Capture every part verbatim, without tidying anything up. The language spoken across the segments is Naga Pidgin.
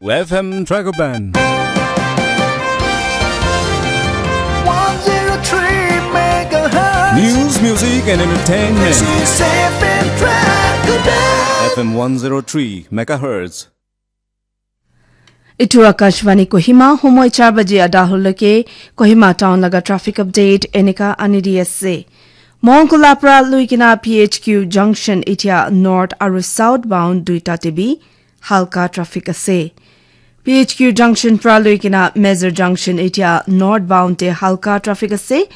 F M Dragoban. One zero three megahertz. News, music, and entertainment. This is F M Dragoban. F M one zero three megahertz. Itu Akashvani Kohima, homoi char baji ada holoke Kohima town laga traffic update enika ani di ase. Mongkula pra luikina P H Q junction itia north aru south bound duita te bi halka traffic ase. P H Q junction pra luikina Major junction itia north bound te halka traffic ase.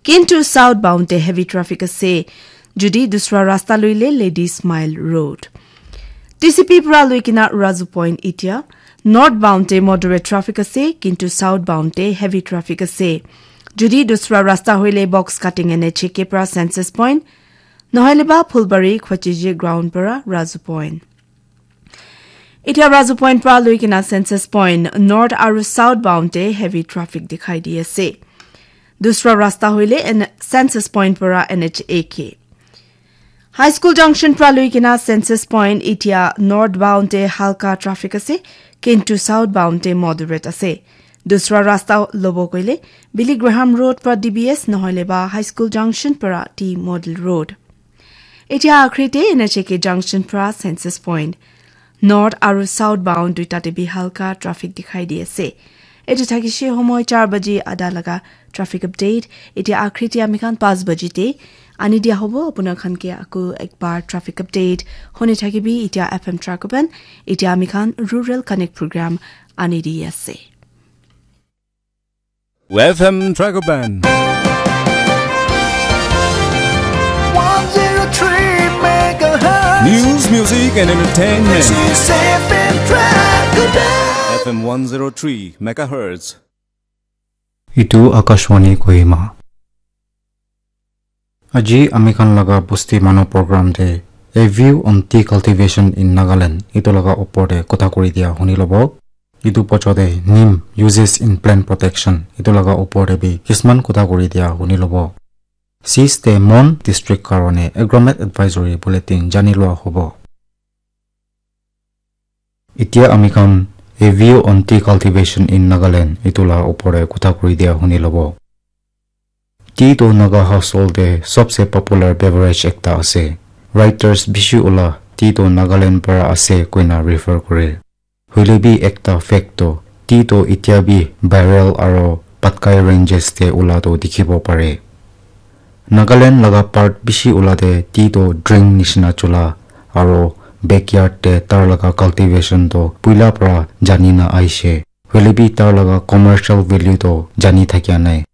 Kintu south bound te heavy traffic ase. Judi dusra rasta luile Ladies Mile Road. T C P pra luikina Razu Point itia north bound te moderate traffic ase, kintu south bound te heavy traffic ase. Judi dusra rasta hoile Box Cutting N H A K pra Census Point, nohoile ba Phulbari Khwachiji ground pra Razu Point. Itia Razu Point pra luikina Census Point north aru south bound te heavy traffic dikhai di ase. Dusra rasta hoile N-, Census Point pra N H A K. High School junction pra luikina Census Point itia north bound te halka traffic ase, kintu south bound te moderate ase. Dusra rasta lobo koile Billy Graham Road pra D B S nohoile ba High School junction pra T Model Road. Itia akhri te N H A K junction pra Census Point north aru south bound duita te bi halka traffic dikhai di ase. Etu thakishe homoi char baji ada laga traffic update. Itia akhri te ami khan panch baji te ani dia hobo. Apuna khan ke aku ekbar traffic update hone thakibi. Itia F M Dragoban. Itia ami khan Rural Connect program ani di ase. F M Dragoban. One zero three megahertz. News, music, and entertainment. This is F M Dragoban. F M one zero three megahertz. Itu Akashvani Kohima. Aji ami khan laga bosti manu program te A View on Tea Cultivation in Nagaland itu laga opor te kotha kuri dia huni lobo. Itu pocho te neem uses in plant protection itu laga opor te bi kisman kotha kuri dia huni lobo. Sis te Mon District karone Agromet Advisory Bulletin jani lua hobo. Itia ami khan A View on Tea Cultivation in Nagaland itu la opor te kotha kuri dia huni lobo. Tea to Naga household te sobse popular beverage ekta ase. Writers bishi ula tea to Nagaland para ase koina refer kore. Hoile bi ekta fact to, tea to itia bi Bareil aro Patkai ranges te ula to dikhibo pare. Nagaland laga part bishi ula te tea to drink nishina chula aro backyard te tar laga cultivation to puila para jani na aishe. Hoile bi tar laga commercial value to jani thakia nai.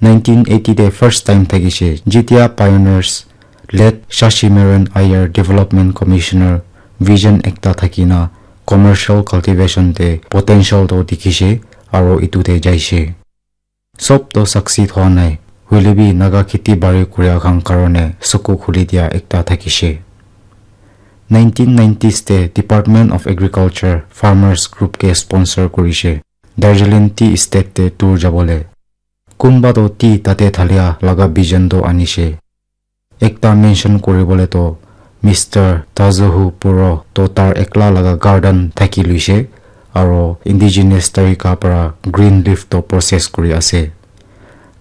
Nineteen eighty te first time thakishe, jetia pioneers late Shashi Maran Iyer Development Commissioner vision ekta thakina commercial cultivation te potential to dikhishe aro itu te jaishe. Sob to succeed hoa nai, hoile bi Naga kheti bari kuria khan karone suku khuli dia ekta thakishe. Nineteen nineties te Department of Agriculture farmers group ke sponsor kurishe Darjeeling Tea Estate te tour jabole. Kunba to tea tate thalia laga vision to anishe. Ekta mention kuribole to Mister Tazuhu Puro to tar ekla laga garden thaki luishe aro indigenous tarika para green leaf to process kuri ase.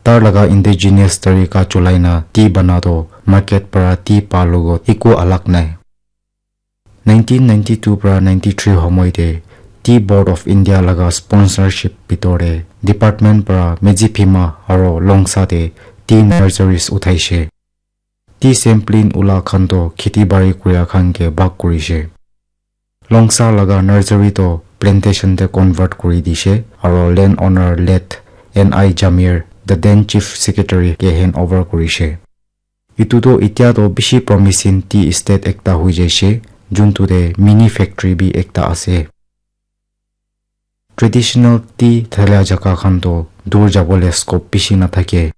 Tar laga indigenous tarika chulai na tea bana to market para tea pa logot eku alag nai. Nineteen ninety-two para ninety-three homoi te Tea Board of India laga sponsorship bitor te department para Medziphema aro Longsa te tea nurseries uthaishe. Tea sampling ula khan to kheti bari kuria khan ke bhag kurishe. Longsa laga nursery to plantation te convert kuri dishe aro land owner late N I Jamir, the then chief secretary ke hand over kurishe. Itu to itya to bishi promising tea estate ekta hoi jaishe, juntu te mini factory bi ekta ase. Traditional tea thalia jaka khan to dur jabole scope bishi nathake.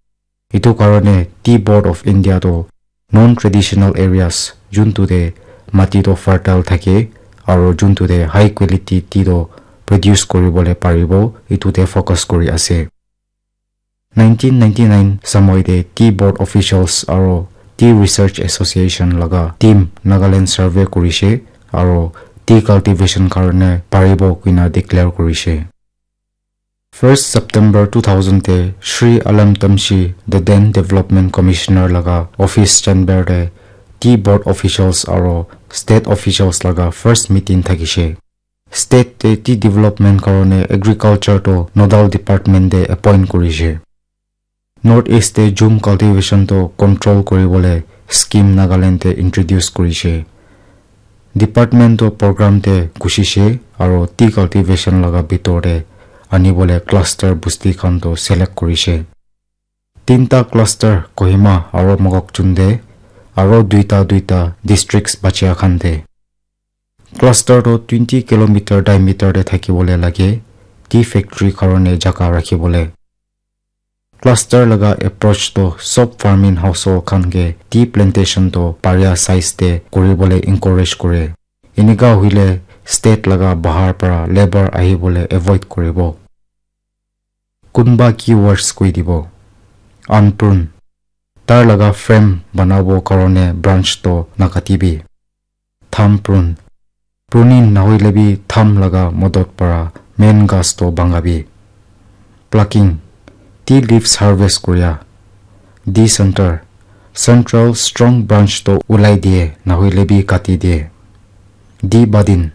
Itu karone Tea Board of India to non-traditional areas juntu te mati to fertile thake aro juntu te high quality tea to produce kuribole paribo, itu te focus kuri ase. Nineteen ninety-nine samoi te Tea Board officials aro Tea Research Association laga team Nagaland survey kurishe aro tea cultivation karone paribo koina declare korishe. First September two thousand te Shri Alam Tamshi, the then Development Commissioner laga office chamber te tea board officials aro state officials laga first meeting thakishe. State te tea development karone agriculture to nodal department te appoint korishe. North East te jhum cultivation to control koribole scheme Nagaland te introduce korishe. Department to program te gushishe aro tea cultivation laga bitor te anibole cluster busti khan to select korishe. Tinta cluster Kohima aro Mokokchung te aro duita duita districts bachia khan te. Cluster to twenty kilometer diameter te thakibole lage, tea factory karone jaga rakhibole. Cluster laga approach to sob farming household khan ke tea plantation to paria size te koribole encourage kore. Enika hoile state laga bahar para labour ahibole avoid koribo. Kunba keywords koi dibo. Unprune. Tar laga frame banabo karone branch to nakatibi. Thumb prune. Pruning nahoile bi thumb laga modot para main gas to bangabi. Plucking. Tea leaves harvest koria. Decenter. Central strong branch to ulai diye, nahoile bi kati diye. Debudding.